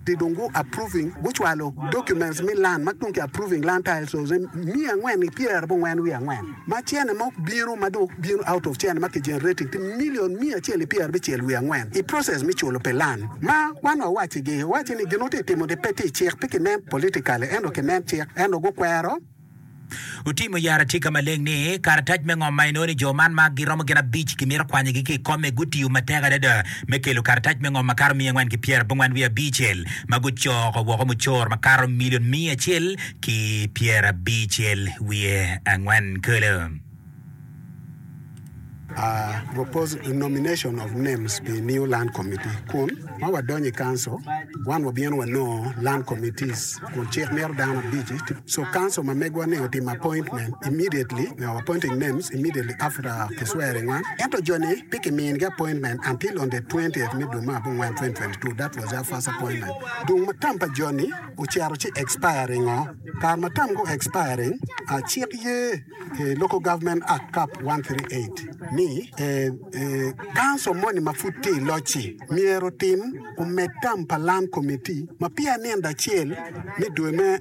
Ti dong gu approving gucwalo documents me land ma dong ki approving land titles miya angwen ki pyerabongwen wiye angwen ma cene mo bino ma dong bino out of cene ma ki generating ti million miya acel ki pyerabicel wiye angwen i process me culo pi land ma wan wawacci gi wacci ni gin otye timo ni pe tye i cik pe ki nen politically ento ki nen cik ento gukwero. Otimo yara tye ka maleng ni karatac me ngom ma inongo ni jo man ma giromo gin abic kimito kwanyogi ki i kome gutiyo matek adada me kelo karatac me ngom makato 495 ma gucoko woko mucoro makato milion 154 kulu. A Propose nomination of names pi new land committee kun ma wadonyo i council wan wabino wanongo land committees kun cik mito dano abic so council ma megwa ni otimo appointment immediately appointing names immediately after ki swearing wan ento jo ni pe ki minigi appointment until on the twentieth me dwe me abongwen 2022 that was their first appointment dong ma term pa jo ni ocito ci expiring o kare ma term gu expiring cik ye I Local Government Act Cap 138 ni Council moni ma pud tye i loc-ci myero otim omed tam pa Land Committee ma peya nindo acel me dwe me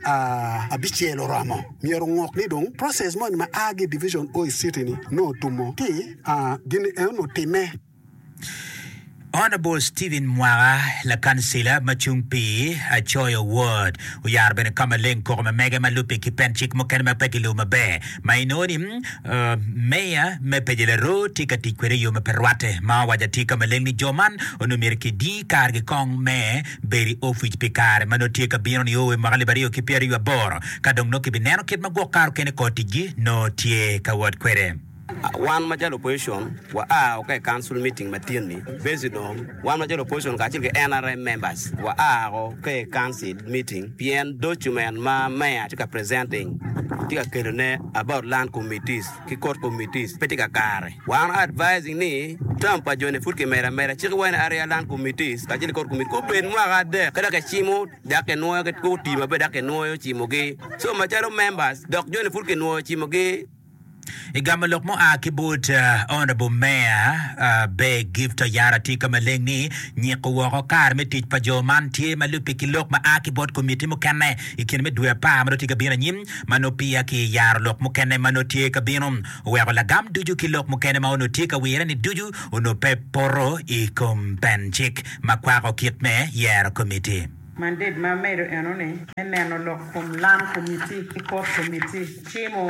abicel oromo myero ongok ni dong process moni ma a ki i Division o i city ni nongo otumo ci gin eno otimme. Honourable Stephen Mwaka lakancila ma cung pi Acoyo Ward oyaro bene ka maleng koko ma mege ma lubbe ki pen cik mukene ma pe gilubo maber ma inongo ni Meya me Peje Laroo tye ka tic kwede i yo ma pe rwatte ma owaco atir ka maleng ni jo man onongo myero kidi kargi kong me bedo i opic pi kare ma nongo tye ka bino nio i mwaka 2028 ka dong nongo kibineno kit ma gwok kare okene kor ticgi nongo tye ka wot kwede. Wan macalo opposition wa a ka i council meeting ma tin-ni based on wan macalo opposition kacel ki nrm members wa a ka i council meeting pien document ma mayor tye ka presenting tye ka kelo ne about land committees ki court committees pe tye kakare. Wan advising ni term pa joni pud kimedo ameda cik wa ni area land committees kacel ki court committees gubed mwaka adek ka dok kicimo dok kinwoyo gutii maber dok kinwoyo cimogi so macalo members dok joni pud kinwoyo cimogi. I gamo lok mua ki bot Honourable Mayor Ber Gift Oyara tye ka maleng ni nyiko woko kare me tic pa jo man tye ma lubbe ki lok ma a ki bot komiti mukene i kine me dwe apar ma nongo tye ka bino anyim ma nongo peya ki yaro lok mukene ma nongo tye ka bino oweko lagam ducu ki lok mukene ma onongo tye ka wire ni ducu onongo pe poto i kom pen cik ma kwako kit me yero komiti. Mandate ma amedo eno ni me neno lok kom Land Committee ki Court Committee. Cimo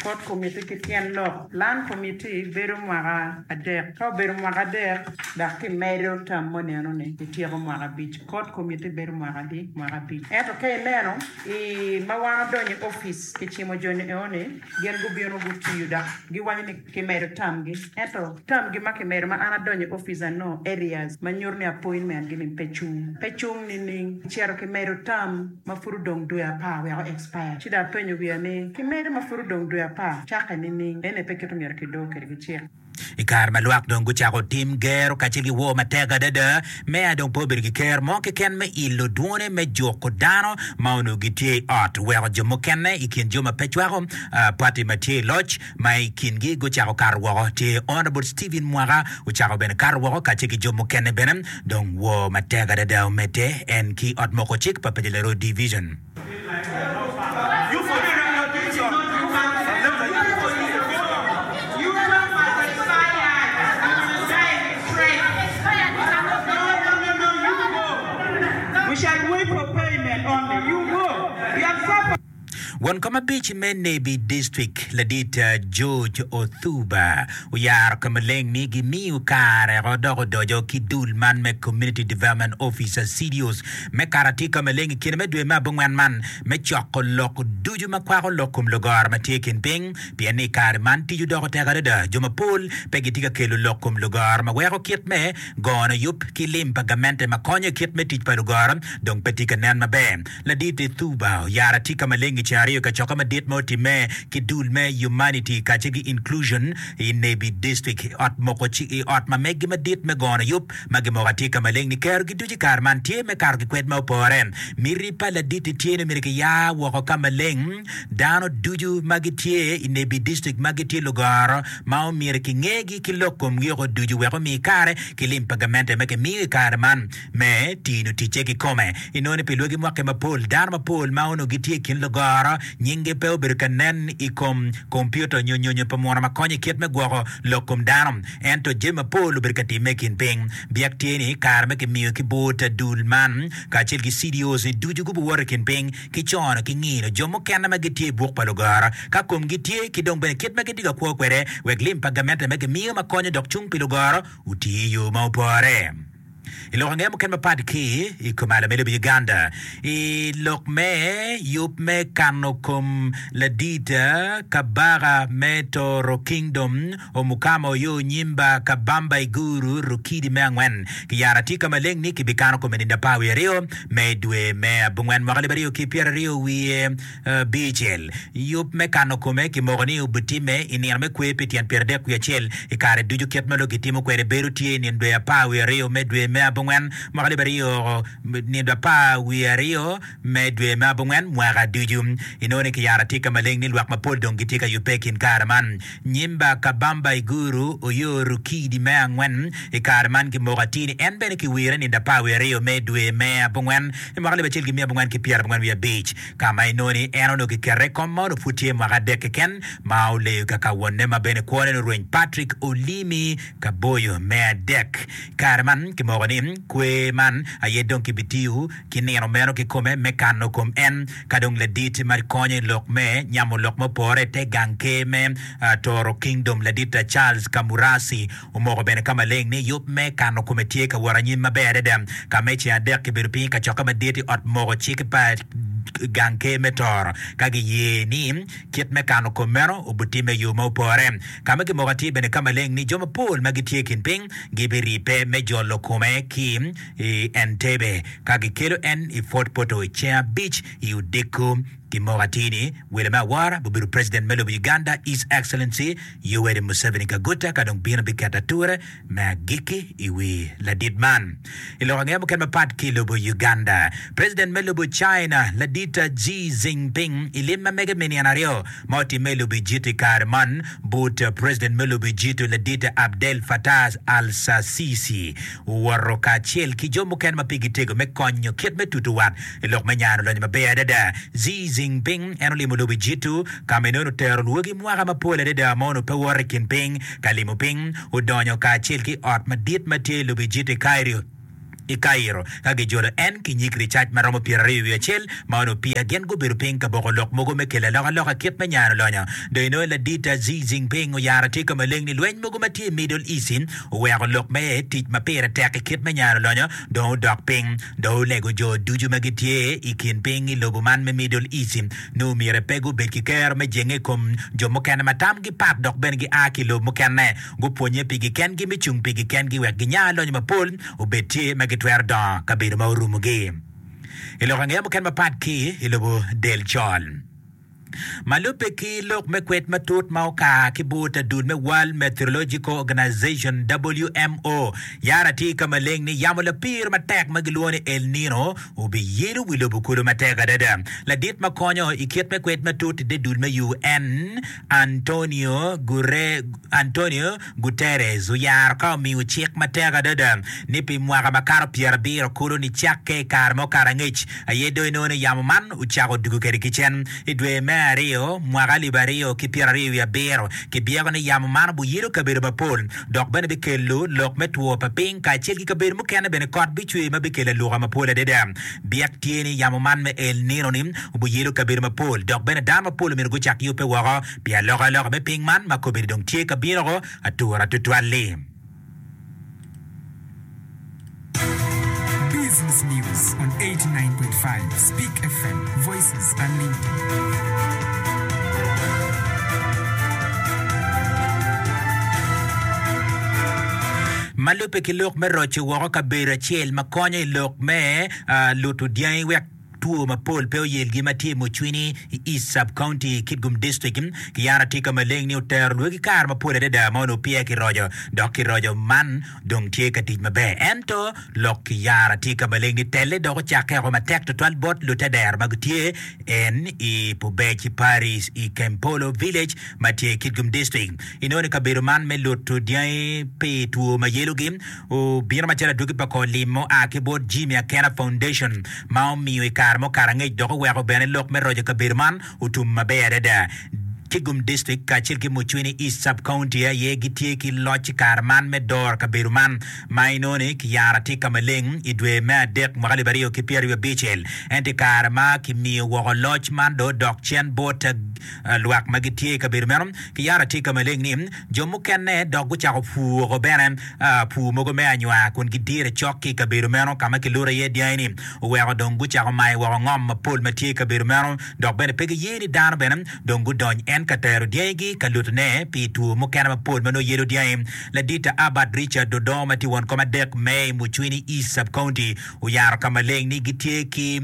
Court Committee ki tyen lok. Land Committee bedo mwaka adek. Ka obedo mwaka adek dok ki medo term moni eno ni ityeko mwaka abic. Court Committee bedo mwaka adi? Mwaka abic. Ento ka ineno i ma wan odonyo i office ki cimo joni eno ni gin gubino gutiyo dok giwaco ni Kimedo tamgi, ento tamgi ma kimedo ma an adonyo i opic anongo areas ma nyuto ni appointment gi ni pe cung. Pe cung nining? Kicito kimedo tam ma pud odong dwe apar wek o expire. Ci dong apenyo wiya ni, kimedo ma pud odong dwe apar cakke nining? Ene pe kit omyero kidor kwede ki cik. I kare ma lwak dong gucako tim gero kacel ki woo matek adada, meya dong pe obedo ki ker mo keken me ilo dwone me juko dano ma onongo gitye i ot, weko jo mukene i kin jo ma pe cwako pati ma tye i loc ma i kingi gucako kato woko tye Honourable Stephen Mwaka ocako bene kato woko kacel ki jo mukene bene dong woo matek adada omedde en ki ot moko cik pa Paco Laroo Division. Won kom abic me Nebbi District, Ladit George Othuba oyaro ka maleng ni gimiyo kare ko dok odoco ki dul man me Community Development Officers, CDOs, me kato atir ka maleng i kine me dwe me abongwen man me coko lok ducu ma kwako lok kom lugoro ma tye i kin piny pien ni i kare man tic odoko tek adada jo mapol pe gitye ka kelo lok kom lugoro ma weko kit me gono yub ki lim pa gamente ma konyo i kit me tic pa lugoro dong pe tye ka nen maber. Ladit Thuba oyaro atika maleng i ceng. aryo i kacokke madit ma otimme ki dul me Humanity kacel ki Inclusion i Nebbi District i ot moko i ot ma meggi madit me gono yub ma gimoko atir ka maleng ni kerogi ducu i kare man tye me kato ki kwed ma opore. Miti pa ladit-ti tye ni myero kiyar woko ka maleng dano ducu ma gitye i Nebbi District ma gitye lugoro ma omyero kingegi ki lok komgi oko ducu wek omi kare ki lim pa gamente ma kimiyo i kare man me tino ticce kikome. Inongo ni pi lwagi mwaki mapol, dano mapol ma onongo gitye i kin lugoro nyinggi pe obedo ka nen i kom kompiuta nyo nyonyo pa muno ma konyo i kit me gwoko lok kom dano. Ento jami mapol obedo ka timme i kin piny. Byek tye ni kare ma kimiyo ki bot dul man kacel ki CDOs ni ducu gubiwoto i kin piny ki cono ki ngino jo mukene ma gitye i buk pa lugoro ka komgi tye ki dong bene kit ma gitye ka kwo kwede wek lim pa gamente ma kimiyo ma konyo dok cung pi lugoro oti i yo ma opore. I lok ange mukene mapat ki i kom ala me lobo Uganda, i lok me yub me kano kom ladit Kabaka me Toro Kingdom, Omukama Oyo Nyimba Kabamba Iguru Rukidi me angwen kiyaro atika ka maleng ni kibikano kome nindo apar wiye aryo me dwe me abongwen mwaka 2020 wiye Abicel, Yub me kano kome kimoko ni obitimme i nino me kwer pi tyen pyeradek wiye acel. I kare ducu kit ma lok gitimo kwede bedo tye i nino dwe apar wiye aryo me dwe me abongwen mwaka alip aryo nindo apar wiye aryo me dwe me abongwen mwaka ducu. Inongo ni kiyaro atika maleng ni lwak mapol dong gitye ka yubbe i kin kare man. Nyimba Kabamba Iguru Oyo Rukidi me angwen i kare man kimoko atir ni en bene kiwire nindo apar wiye aryo me dwe me abongwen i mwaka alip acel ki miya abongwen ki pyerabongwen wiye abic. Ka ma inongo ni en onongo kikete i kom ma onongo pud tye mwaka adek keken ma oleyo kaka wonne ma bene kwone ni orweny Patrick Olimi Kaboyo me adek. I kare man kimoko ni kwer man aye dong kibitiyo ki nino meno kikome me kano kom en ka dong ladit ma konyo i lok me nyamo lok ma opore i te gang ker me Toro Kingdom ladit Charles Kamurasi Omoko bene ka maleng ni yub me kano kome tye ka wot anyim maber adada. Ka me ceng adek kibedo piny i kacokke madit i ot moko cik pa gang ker me Toro ka giye ni kit me kano kom meno obitimme i yo ma opore. Ka ma kimoko atir bene ka maleng ni jo mapol ma gitye i kin piny gibiribbe me jolo kome ki i Entebbe ka gikelo en i Fort Portal i ceng abic i odiko. Kimoko atir ni welo me awora bibedo President me lobo Uganda His Excellency Yoweri Museveni Kaguta ka dong bino biketo ature me agikki i wi ladit man. I lok angeya mukene mapat ki i lobo Uganda, President me lobo China ladit Xi Jinping i lim ma mege me nino aryo ma otimme i lobo Egypt i kare man but President me lobo Egypt ladit Abdel Fattah al-Sisi owoto kacel ki jo mukene ma pigi tego me konyo kit me tuto wat i lok me nyano lonyo maber adada. Xi Jinping en olimo lobo Ejipto ka ma en otero lwogi mwaka mapol adada ma onongo pe woto i kin piny ka limo piny. Odonyo kacel ki ot madit ma tye i lobo Ejipto i Cairo i Cairo ka gijolo en ki nyig ricac ma romo pyeraryo wiye acel ma onongo peya gin gubedo piny ka boko lok mogo me kelo alokaloka kit me nyano lonyo. Dong inongo ladit Xi Jinping oyaro atir ka maleng ni lweny mogo ma tye i Middle East oweko lok me tic ma pire tek i kit me nyano lonyo dong odok piny. Dong olego jo ducu ma gitye i kin piny i lobo man me Middle East ni omyero pe gubed ki kero me jenge i kom jo mukene ma tamgi pat dok bene gia ki i lobo mukene. Gupwonnye pigi kengi me cung pigi kengi wek ginya lonyo mapol obed tye ma gitwero dongo kabedo ma orumogi. I lok angeya mukene mapat ki i lobo del col. Ma lubbe ki lok me kwed matut ma oka ki but adul me World Meteorological Organization, WMO, yara tye ka maleng ni yamo lapir matek ma gilwongo ni El Nino obiyelo wi lobo kulu matek adada. Ladit ma konyo i kit me kwed matut i te dul me UN, Antonio Antonio Guterres oyaro ka omiyo cik matek adada ni pi mwaka makato pyerabiro kulu nicakke i kare ma okato angec aye dong inongo ni yamo man ocako dugo kwede ki cen. I dwe me aryo mwaka alip aryo ki pyeraryo wiye abiro, kibyeko ni yamo man obiyelo kabedo mapol dok bene bikelo lok me two pa piny kacel ki kabedo mukene bene kot bicwer ma bikelo aluka mapol adada. Byek tye ni yamo man me El Nino-ni obiyelo kabedo mapol dok bene dano mapol omyero gucak yubbe woko pi alokaloka me piny man ma kobedo dong tye ka bino atura tutwal-li. Business News on 89.5 Speak FM, Voices Unlimited. Ma lubbe ki lok me roco woko kabedo acel ma konyo i lok me luto dyangi wek. two mapol pe oyelgi ma tye i Mucwini i East Sub County, Kitgum District. Kiyaro atika maleng ni otero lwegi kare mapol adada ma onongo peya kiroco dok kiroco man dong tye ka tic maber. Ento lok kiyaro atika maleng ni telle dok ocakke oko matek tutwal bot lutedero ma gitye en i Pubec Parish i Kempolo Village ma tye i Kitgum District. Inongo ni kabedo man me luto dyangi pi two ma yelogi obino macalo adwogi pa kor lim ma oa ki bot Jimmy Akena Foundation ma omiyo i kare mukato angec dok oweko bene lok me roco kabedo man otum maber adada. Kitgum District kacel ki Mucwini East Sub County aye gitye ki loc i kare man me doro kabedo man ma inongo ni kiyaro atika maleng i dwe me adek mwaka alip aryo ki pyeraryo abicel. Ento i kare ma kimiyo woko loc man dong odok cen bot lwak ma gitye i kabedo meno, kiyaro atika maleng ni jo mukene dok gucako pur woko bene pur mogo me anywar kun gidire cok ki i kabedo meno ka ma kiluto iye dyangi-ni oweko dong gucako mayo woko ngom mapol ma tye i kabedo meno dok bene pe giye ni dano bene dong gudony en ka tero dyangigi ka lutone pi two mukene mapol ma nongo yelo dyangi. Ladit Albert Richard Odongo ma tye won kom adek me i Mucwini East Sub-County oyaro ka maleng ni gitye ki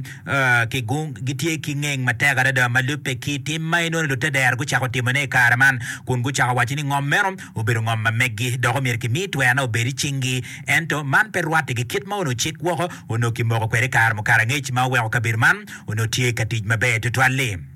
gitye ki ngeng matek adada ma lubbe ki tim ma inongo ni lutedero gucako timone i kare man kun gucako waco ni ngom meno obedo ngom ma meggi dok omyero kimi twerone obed i cinggi. Ento man pe rwatte ki kit ma onongo cik woko onongo kimoko kwede i kare mukato angec ma oweko kabedo man onongo tye ka tic maber tutwal-li.